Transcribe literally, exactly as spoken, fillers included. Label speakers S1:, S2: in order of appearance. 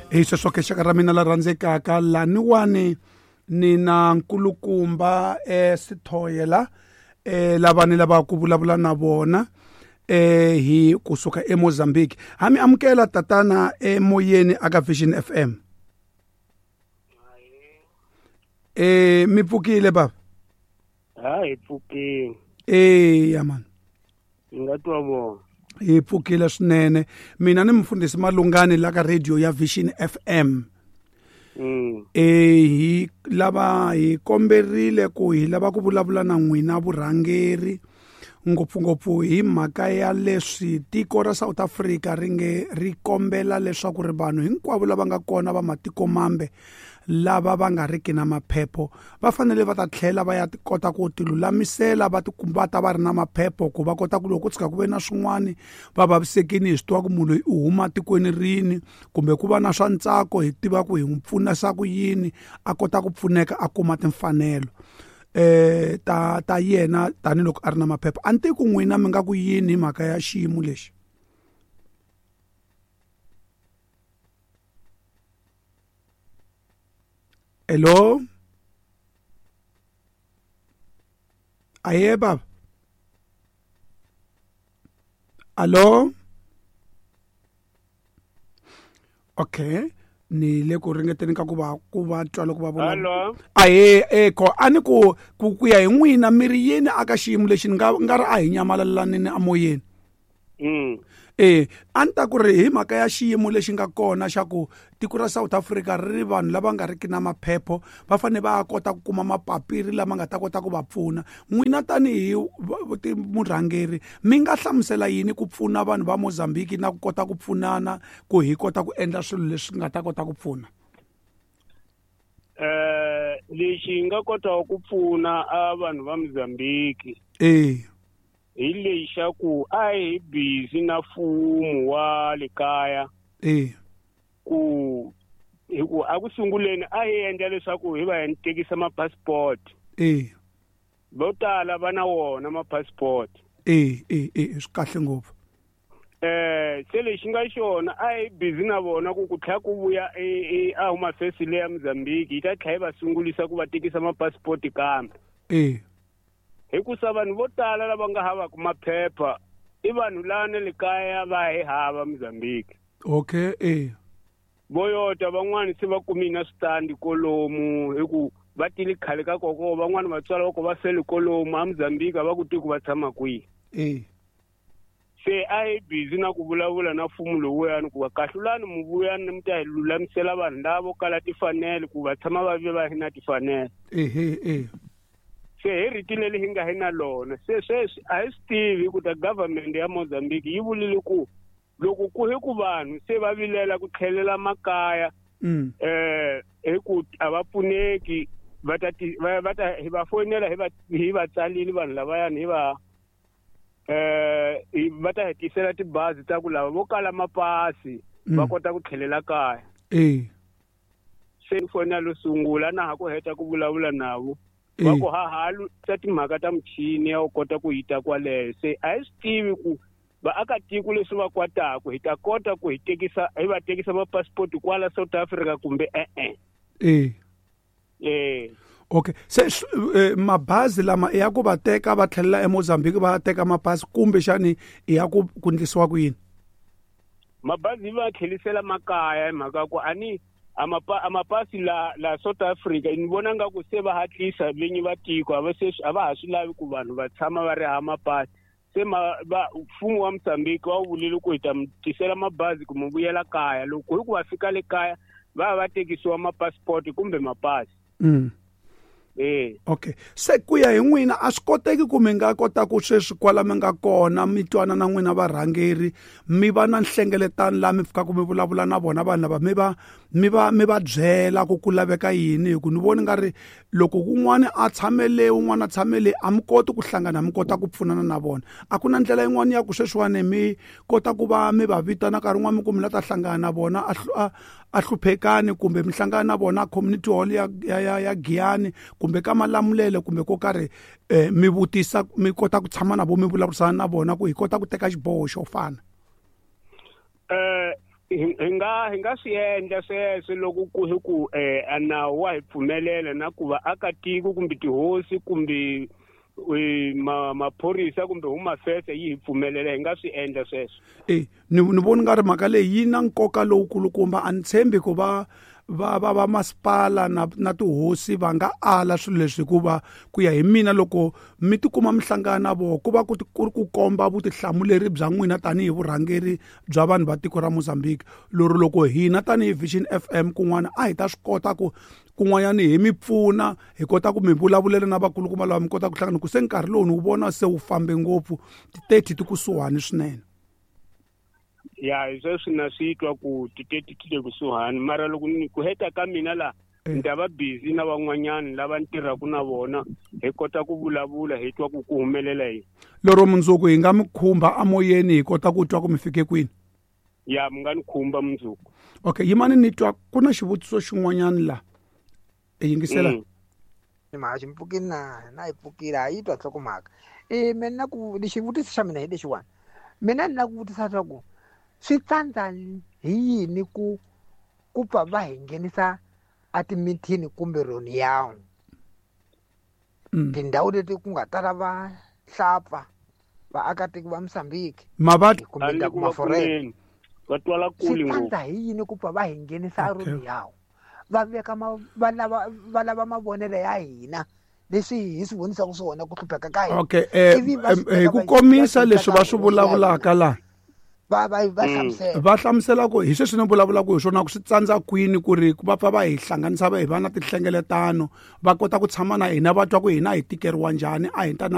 S1: Hi sweswo ke xaka ra mina la rhandzekaka laniwani ni na nkulukumba eh Sithoyela eh lava ni lava ku vulavula na vona eh hi kusuka eMozambique. Ha mi amukela tatana emoyeni aka Vision F M. Eh mi pfukile baba?
S2: Ha hi pfukile.
S1: Eh ya man.
S2: Nga twa vona.
S1: Hi pfukile swinene. Mina ni mfundhisi Malungani la ka radio ya Vision F M.
S2: Mm.
S1: Eh hi lava hi komberile ku hi lava ku vulavula na n'wina vurhangeri ngopfungopfu hi mhaka ya leswi tiko ra South Africa ri nge ri kombela leswaku ri vanhu hinkwavo lava nga kona va matiko mambe lava va nga riki na maphepho va fanele va ta tlhela va ya kota ku tilulamisela va tikumba ta va ri na maphepho ku va kota ku loko ku tshika ku ve na swin'wani va vavisekini hi swi tiva ku munhu loyi u huma tikweni rini kumbe ku va na swa ntsako hi tiva ku hi n'wi pfunisa ku yini a kota ku pfuneka a kuma timfanelo eh ta ta yena tanihiloko a ri na maphepha. A ni tivi ku n'wina mi nga ku yini hi mhaka ya xiyimo lexi? Hello? Aye baba. Allo? Okay. Ni le ku ringeteni ka ku va ku va twa loko va vona.
S2: Hello.
S1: Ahe eko a ni ku ku ku ya hi n'wina mi ri yini aka xiyimo lexi ni nga nga ri a hi nyamalalanini amoyeni.
S2: Mm.
S1: Eh a ni ta ku ri hi mhaka ya xiyimo lexi nga kona xa ku tiko ra South Africa ri ri vanhu lava nga riki na maphepho va fanele va kota ku kuma mapapiri lama nga ta kota ku va pfuna. N'wina tanihi murhangeri mi nga hlamusela yini ku pfuna vanhu va Mozambique na ku kota ku pfunana ku hi kota ku endla swilo leswi nga ta kota ku pfuna?
S2: Eh lexi nga kotaka ku pfuna a vanhu va Mozambique
S1: eh
S2: hi lexaku a hi busy na mfumo wa le kaya
S1: eh
S2: ku hi ku a ku sunguleni a hi endla leswaku hi va hi tekisa ma-passport
S1: eh
S2: vo tala va na wona ma-passport
S1: eh eh eh swi kahle ngopfu.
S2: Eh se lexi nga xona a hi busy na vona ku ku tlhela ku vuya e a huma fesi leya Mozambique yi ta tlhela yi va sungulisa ku va tekisa ma-passport kambe
S1: eh
S2: hikusa vanhu vo tala lava nga havaka maphepha i vanhu lana le kaya va hi hava Mozambique.
S1: Okay eh
S2: voyota van'wani se va kumile na switandi kolomu hi ku va tile khale ka koko van'wani vatswari va ko va fele kolomu a Mozambique a va ku tivi ku va tshama kwihi.
S1: Eh
S2: se a hi busy na ku vulavula na mfumo lowuyani ku va kahlulani mu vuyani mi ta hi lulamisela vanhu lava vo kala tifanele ku va tshama va ve va hi na tifanele.
S1: Ehe eh
S2: se hi rito leri hi nga hi na lona se sweswi a hi swi tivi ku ta government ya Mozambique yi vulile ku loko ku hi ku vanhu se va vilela ku tlhelela makaya eh hi ku a va pfuneki va ta va ta hi va fonela hi va hi va tsalile vanhu lavayani hi va eh va ta hetisela tibazi ta ku lava vo kala mapasi va kota ku tlhelela kaya.
S1: Eh
S2: se fonela lo sungula na ha ku heta ku vulavula navo va ku hahalu ta timhaka ta michini ya u kota ku yita kwaleyo se a hi swi tivi ku vaakatiko leswi va kwataku hi ta kota ku hi tekisa hi va tekisa ma-passport kwala South Africa kumbe e-e.
S1: Eh
S2: eh
S1: okay se eh, mabazi lama ya ku va teka va tlhelela eMozambique va teka mapasi kumbe xani ya ku ku ndlisiwa ku yini?
S2: Mabazi va tlhelisela makaya hi mhaka ku ani amapa amapasi la la South Africa ni vona nga ku se va hatlisa vinyi va tiko a va se a va ha swi lavi ku vanhu va tshama va ri hava mapasi se ma va mfumo wa Mozambique wa vulile ku hi ta mi tisela mabazi ku mi vuyela kaya loko hi ku va fika le kaya va va tekisiwa ma-passport kumbe mapasi.
S1: Mm.
S2: Eh
S1: okay se ku ya hi n'wina a swi koteki ku mi nga kota ku sweswi kwala mi nga kona mi twana na n'wina varhangeri mi va na nhlengeletano laha mi fikaka mi vulavula na vona vanhu lava mi va mi va mi va byela ku ku laveka yini hi ku ni voni nga ri loko kun'wana a tshamele un'wana a tshamele a mi koti ku hlangana mi kota ku pfunana na vona. A ku na ndlela yin'wana ya ku sweswiwani mi kota ku va mi va vitana nkarhi wun'wana mi ku mi la ta hlangana na vona a a hluphekani kumbe mi hlangana na vona community hall ya ya ya Giyani kumbe ka Malamulele kumbe ko karhi eh, mi vutisa mi kota ku tshama na vo mi vulavurisana na vona ku hi kota ku teka xiboho xo fana.
S2: Eh Hi nga hi nga swi endla sweswo loko ku hi ku eh a nawu wa hi pfumelela na ku vaakatiko kumbe tihosi kumbe ma maphorisa kumbe Home Affairs yi hi pfumelela, hi nga swi endla sweswo.
S1: E ni ni voni nga ri mhaka leyi yi na nkoka lowukulukumba. A ni tshembi ku va va va va masipala na na tihosi va nga ala swilo leswi, hikuva ku ya hi mina loko mi tikuma mi hlangana na voho ku va ku ku ri ku komba vutihlamuleri bya n'wina tanihi vurhangeri bya vanhu va tiko ra Mozambique. Lero loko hina tanihi Vision F M kun'wana a hi ta swi kota ku kun'wanyani hi mi pfuna, hi kota ku mi vulavulela na vakulukumba lava mi kota ku hlangana, ku se nkarhi lowu ni wu vona se wu fambe ngopfu, ti-thirty ti kusuhani swinene.
S2: Ya, hi sweswi na swi twa ku ti-thirty ti le kusuhani, mara loko ni ku heta ka mina la ni ta va busy na van'wanyani lava ni tirhaka na vona, hi kota ku vulavula hi twa ku ku humelela yini.
S1: Lero mundzuku hi nga mi khumba amoyeni hi kota ku twa ku mi fike kwini?
S2: Ya, mi nga ni khumba mundzuku.
S1: Okay, yimani ni twa ku na xivutiso xin'wanyani la. E yingisela.
S3: Ni mhaka xi mpfukile na na yi pfukile a yi twa nhlokomhaka. E mina ku xivutiso xa mina hi lexiwani. Mina ni lava ku vutisa leswaku swi tsandza hi yini ku ku pfa va hi nghenisa a timithini kumbe roniyawu. Tindhawu leti ku nga tala va hlapfa vaakatiko va Mozambique
S1: Mavati
S3: kumbe ta kuma foreign.
S2: Va twala kule
S3: ngopfu. Swi tsandza hi yini ku pfa va hi nghenisa a roniyawu? Va veka va lava va lava mavonelo ya hina leswi hi swi vonisaka swona ku hlupheka ka hina.
S1: Okay, eh hi ku komisa leswi va swi vulavulaka la.
S3: Va va va hlamusela.
S1: Va hlamusela ku hi sweswi ni vulavulaka hi swona ku swi tsandza kwini ku ri ku va pfa va hi hlanganisa va hi va na tinhlengeletano, va kota ku tshama na hina va twa ku hina hi tikeriwa njhani, a hi ta na